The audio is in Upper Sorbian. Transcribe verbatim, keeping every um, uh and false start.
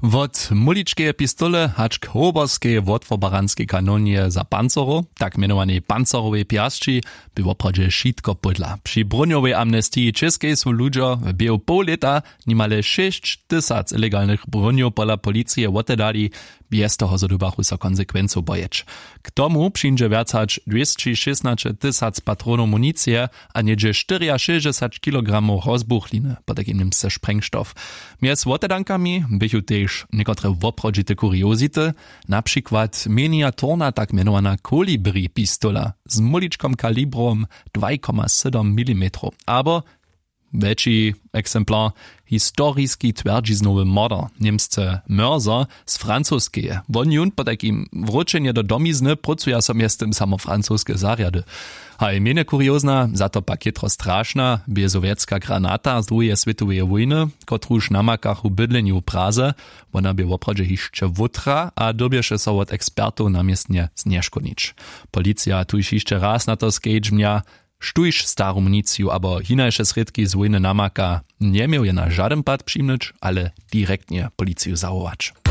Wot muličkeje pistole hač k hoborskeje wotwobaranskej kanonje za pancerow, tak mjenowanej pancerowej pjasći, bě woprawdźe wšitko pódla. Při brónjowej amnestiji w čěskej su ludźo w běhu poł lěta nimale šěsć tysac ilegalnych brónjow pola policije wotedali, bjez toho zo dyrbjachu so konsekwencow bojeć. K tomu přińdźe wjac hač dwěsći šěsnaće tysac patronow municije a něhdźe štyriašěsćdźesać kilogramow rozbuchliny, potajkim němsce sprengstoff. Mjez wotedankami běchu tež někotre woprawdźite kuriozity, na přikład miniaturna tak mjenowana kolibri pistola z móličkom kalibrom dwaj koma sydom milimetrow abo wjetši eksemplar, historiski twjerdźiznowy morder, němsce mörzer z francoskeje. Won jón potajkim wróćenje do domizny prócu ja so mjeztym samo francoske zarjady. Haj mjenje kuriozna, za to pak jětro strašna bě sowjetska granata z druheje swětoweje wójny, kotruž namakachu w bydlenju w praze. Wona bě woprawdźe hišće wótra a dyrbješe so wot ekspertow na městnje znješkónić. Policija tuž hišće raz na to skedźbnja, štóž staru municiju abo hinaše srědki z wójny namaka, njeměł je na žadyn pad přimnyć, ale direktnje policiju zawołać.